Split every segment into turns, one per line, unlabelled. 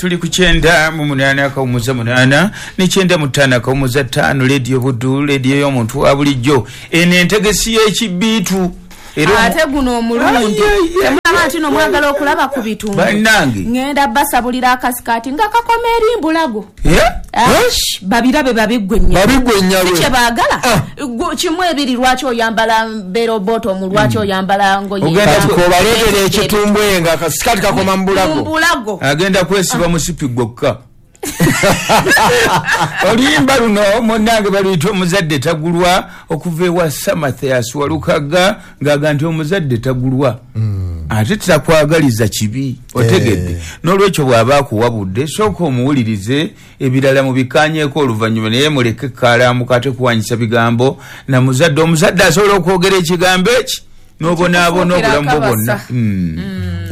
Tuli ku 98.8 ne 95.5 Lediyo Buddu, lediyo y'omuntu wa bulijjo. Eno entegesi y'ekibiitu.
Ate guno omulundi temulaba nti no mwagala okulaba ku bitundu.
Bannange
ŋŋenda basabulira akasikaati nga kakoma eri mbulago. Babirabe babiggwe
nnyo
kye baagala kimu ebiri. Lwaki oyambala berobotomu? Lwaki oyambala ngoye?
Obaleetera ekitumbwe nga akasikaati kakoma
mbulago.
Agenda kwesiba musipi gwokka. Oluyimba luno munnange baluyita Omuzadde Tagulwa, okuva ewa Samathias Walukaga, ng'aga nti omuzadde tagulwa ate takwagaliza kibi, otegedde? N'olwekyo bw'aba akuwabudde, sooka omuwulirize, ebirala mubikanyeko oluvannyuma, naye muleke kalamuka ate kuwanyisa bigambo na muzadde. Omuzadde asobola okwogera ekigambo eki n'obonaabona obulamu bwo bwonna.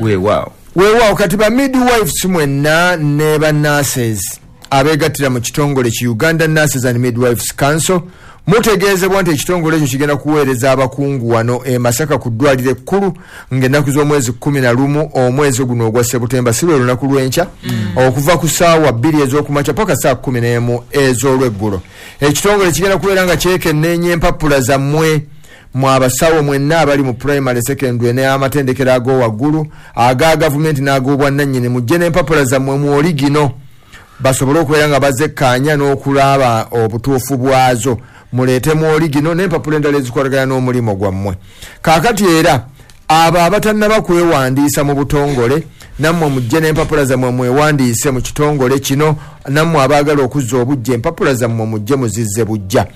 Weewaawo.
Weewaawo. Kati ba midwives mwenna ne ba nurses abeegattira mu kitongole ki Uganda Nurses and Midwives Council, mutegeezebwa nti ekitongole ekyo kigenda kuweereza abakungu wano e Masaka ku ddwaliro ekkulu ng'ennaku z'omwezi 11 omwezi guno ogwa Sebutemba, si lwe lunaku lw'enkya, okuva ku ssaawa 2 ez'okumakya paka ssaawa 11 ez'olweggulo. Ekitongole kigenda kubeera nga kyekenneenya empapula zammwe mwe abasawo mwenna abali mu primary, secondary n'amatendekero ag'owaggulu aga gavumenti n'ag'obwannannyini. Mujje n'empapula zammwe mu oligino basobole okubeera nga bazekkaanya n'okulaba obutuufu bwazo. Muleete mu oligino n'empapula endala ezikwatagana n'omulimu gwammwe. Kaakati era abo abatannaba kwewandiisa mu butongole, nammwe mujje n'empapula zammwe mwewandiise mu kitongole kino. Nammwe abaagala okuzza obujja empapula zammwe, mujje muzizze bujja.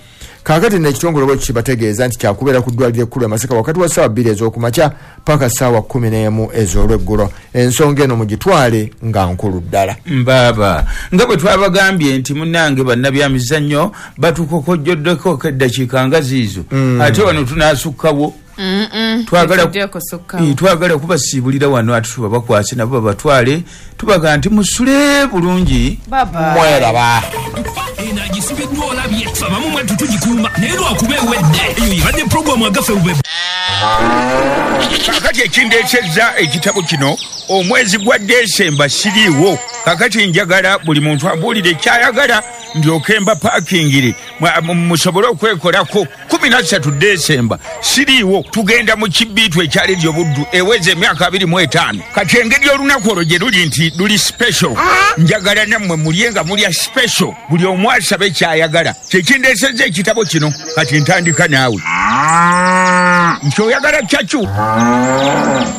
Kaakati nekitongole bwe kibategeeza nti kyakubeera ku ddwaliro ekkulu e Masaka wakati wa ssaawa 2 ez'okumakya paka ssaawa 11 ez'olweggulo. Ensonga eno mugitwale nga nkulu ddala.
Mbaaba nga bwe twabagambye nti munnange bannabyamizannyo batukokojjoddeko eddakiika nga ziizo, ate wano tunaasukkawo. Twagala kubasiibulira wano, ate tuba bakwase nabo babatwale. Tubaga nti musule bulungi.
Mweraba.
Eno agisibiddwa olabye ffe abamu mwattu tugikuuma, naye lwakuba ewedde. Eyo yebadde puroguramu agaffe bube.
Kakati ekindeesezza ekitabo kino, omwezi gwa Desemba siriiwo. Kakati njagala buli muntu ambuulire kyayagala ndyoke mba paakingire musobole okwekolako. 13 Desemba siriiwo, tugenda mu kibiitu ekya Lediyo Buddu eweza emyaka 25. Kati engeri olunaku olwo gye luli nti luli special, njagala nammwe mulye nga mulya special, buli omu asabe kyayagala. Kyekindeesezza ekitabo kino. Kati ntandika naawe nti oyagala cyacu.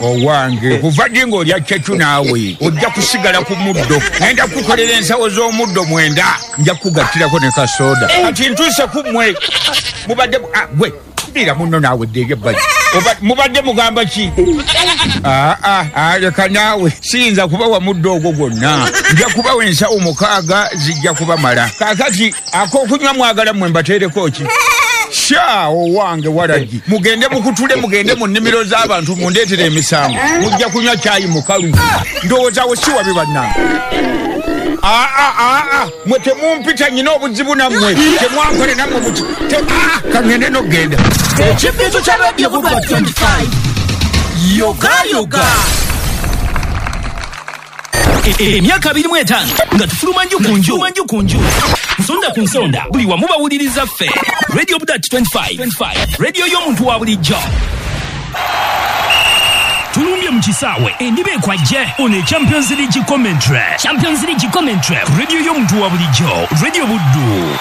Owange, kuva ddi ng'olya cyacu? Naawe ojja kusigala ku muddo. Ngenda kukolera ensawo z'omuddo 9, nja kugattirako ne kasoda. Kati ntuuse ku mmwe. Mubadde gwe dira munno naawe ddeeri ebbali. Mubadde mugamba ki? Aa, leka naawe, siyinza kubawa muddo ogwo gwonna, nja kubawa ensawo 6, zijja kubamala. Kaakati ak'okunywa mwagala mmwe mbateereko ki? Sha, owange walagi, mugende mukutule, mugende mu nnimiro z'abantu mundeetere emisango, mujja kunywa kyayi mukalu. Ndowooza awo si wabi bannange? Aa, mwe temumpita, nyina obuzibu nammwe temwankole nammwe muti kangende n'okugenda.
Ekibiitu kya Radio Buddu 25, yoga yoga. Emyaka 25 nga tufuluma nju ku nju, nju ku nju, nsonda ku nsonda, buli wamu bawuliriza ffe. Radio Buddu 25, radio y'omuntu wa bulijjo. Tulumbye mu kisaawe, endiba ekwajje. Ono Champions League commentary, Champions League commentary, radio y'omuntu wa bulijjo, Radio Buddu.